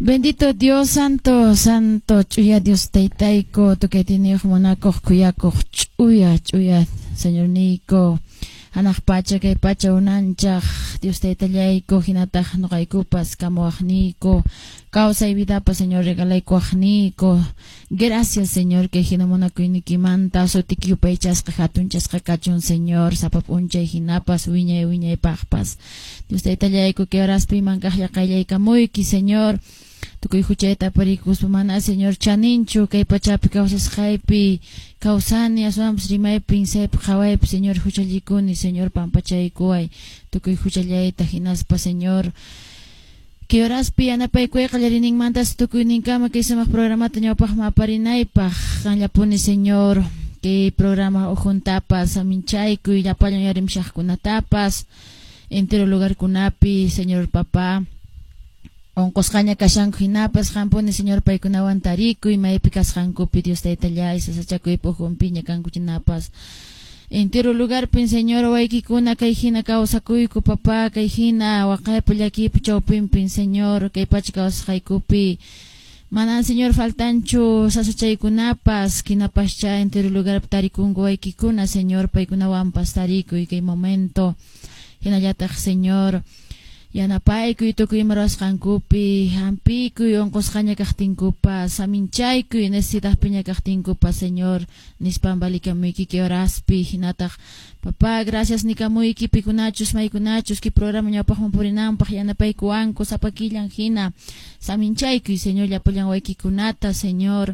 Bendito Dios Santo, Santo, ch'uya Dios taytayku, tukuy atiyniyuq munakuq, khuyakuq, ch'uya, ch'uya Señorniyku, hanaq pacha kay pacha unanchaq Dios taytallayku, hinataq nuqaykupas kamuwaqniyku, kawsay vidapas Señor regalaykuwaqniyku. Gracias Señor kay hina munakuyniykimanta sutiki yupaychasqa hatunchasqa kachun Señor, sapa p'unchay hinapas wiñay wiñaypaqpas. Dios taytallayku kay horaspi iman kaqlla qayllaykamuyki Señor. Tukuy huchayta aparikuspa mana Señor chaninchu kay pachapi kawsasqaypi kawsani aswanpas rimaypi pinsaypi qhawaypi Señor huchallikuni Señor pampachaykuway tukuy huchallayta hinaspa Señor kay horaspi yanapaykuway qallariyninmantas tukuyninkama kay sumaq programata ñawpaqman aparinaypaq qanllapuni Señor kay programa ukhuntapas saminchaykuy llapallan uyarimshaqkunatapas entero lugarkunapi Señor papá Onqosqaña kashanku hinapas qampuni Señor paykunawan tarikuy maypi kasqankupi Dios taytallay sasachakuypi ukhunpiña kanku hinapas entero lugarpin Señor waykikuna kay hina kawsakuyku papá kay hina waqaypi llakiypi chawpinpin Señor kay pacha kawsasqaykupi manan Señor faltanchu sasachaykunapas hinapascha entero lugarpi tarikunku waykikuna Señor paykunawanpas tarikuy kay momento hinallataq Señor yanapaykuy tukuy ima ruwasqankupi hampiykuy unqusqaña kaqtinkupas saminchaykuy necesitaqpiña kaqtinkupas Señor nispan valikamuyki kay horaspi hinataq papá gracias nikamuyki pikunachus maykunachus kay programa ñawpaqman purinanpaq yanapaykuwanku sapa killan hina saminchaykuy Señor llapallan waykikunata Señor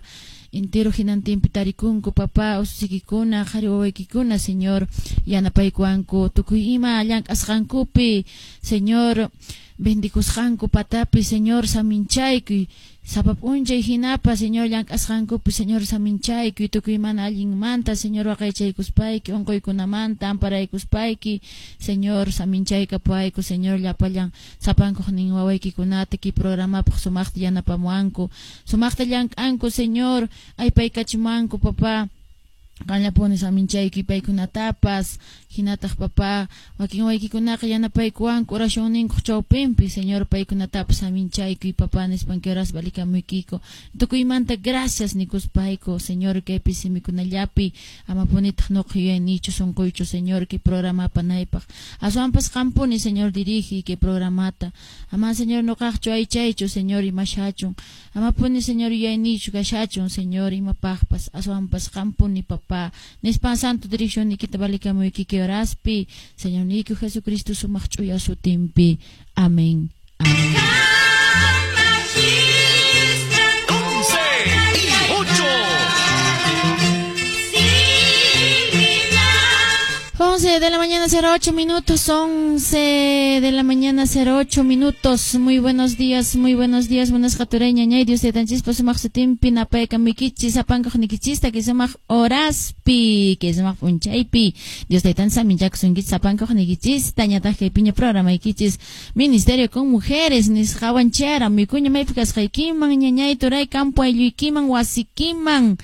entero hinantinpi tarikunku papá ususikikuna qhari wawaykikuna Señor yanapaykuwanku tukuy ima llank'asqankupi Señor bendikusqanku patapi Señor saminchaykuy sapa p'unchay hinapa Señor llank'asqankupi Señor saminchaykuy tukuy mana allinmanta Señor waqaychaykuspayki unquykunamanta amparaykuspayki Señor saminchaykapuwayku Señor llapallan sapankuqnin wawaykikunata kay programapaq sumaqta yanapamuwanku sumaqta llank'anku Señor aypaykachimuwanku papá qanllapuni saminchaykuy paykunatapas hinataq papá wakin waykikunaqa yanapaykuwanku oracionninkuq chawpinpi Señor paykunatapas saminchaykuy papá nispan kay horas valikamuykiku tukuymanta gracias nikuspayku Señor kaypi simikunallapi amapunitaq nuqa yuyayniychu sunquychu Señor kay programa apanaypaq aswanpas qampuni Señor dirigi kay programata ama Señor nuqaqchu aychaychu Señor imashachun amapuni Señor yuyayniychu kashachun Señor imapaqpas aswanpas qampuni papá nispan santo direccionniykita valikamuyki kay horaspi Señorniyku Jesucristo sumaq ch'uya sutinpi amén amén. 11 y 8. 11 de la mañana 08 minutos, 11 de la mañana 08 minutos. Muy buenos días, muy buenos días, buenas jatureña, ñay Dios taytanchispa sumaq sutinpi napaykamuykichis sapankuqnikichista kay sumaq horaspi, kay sumaq p'unchaypi. Dios taytan saminchakusunkichis sapankuqnikichista ñataq kay piña programaykichis Ministerio con Mujeres nisqawan chayara muykuña maypi kasqaykiman ñañay turay campo aylluykiman wasikiman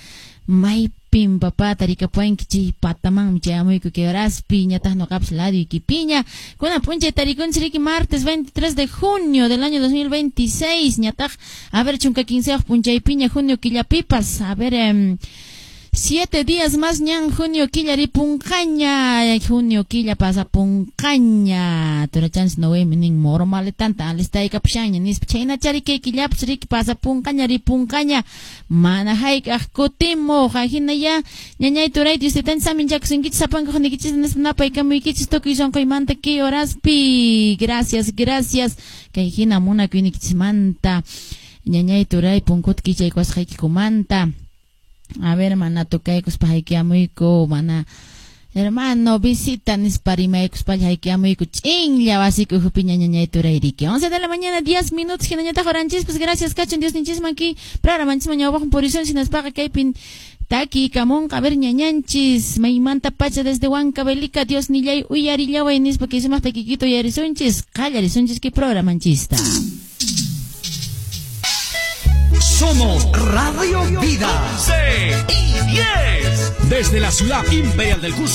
maypin papá tarikapuwanki chay patamanmi chayamuyku kay horaspi ñataq nuqapas laduykipiña kunan p'unchay tarikunchis riki martes 23 de junio del año 2026 ñataq a ver chunka quinsayuq p'unchaypiña junio killapipas a ver 7 días más ñan junio killa ripunqaña junio killa pasapunqaña turachans noemi nin moromaletanta alistaykapishaña nispa chaynachari kay killapas riki pasapunqaña ripunqaña mana hayk'aq kutimuq ajina ya ñañay turay Dios taytanchis saminchakusunkichis sapankuqniykichis nispa napaykamuykichis tukuy sunquymanta kay horaspi gracias gracias kay hina munakuynikichismanta ñañay turay punkuta kichaykuwasqaykikumanta. A ver, mana tocaykuspa haykiamuyku, mana hermano visita nispa rimaykuspa haykiamuyku ch'inlla wasiyku ukhupi ñañañay turayriki. 11 de la mañana 10 minutos hinañataq oranchis, pues gracias kachun Dios ninchisman ki programanchisman ñawpaqman purisun hinaspaqa kaypin taki kamunqa a ver ñañanchis maymanta pacha desde Huancavelica Dios nillay uyarillaway nispa kay sumaq takikita uyarisunchis qallarisunchis kay programanchista. Somos Radio Vida. 11 y 10. Desde la ciudad imperial del Cusco.